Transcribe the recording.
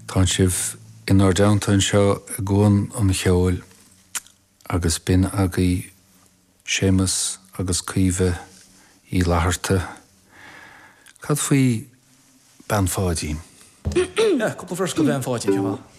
Tánn sibh inár dteannta anseo i gCuan an Cheoil agus b'in agaibh Séamus agus Caoimhe Uí Fhlatharta. Cad faoi Bean Pháidín? Yeah, cúpla verse go Bean Pháidín, cén fáth?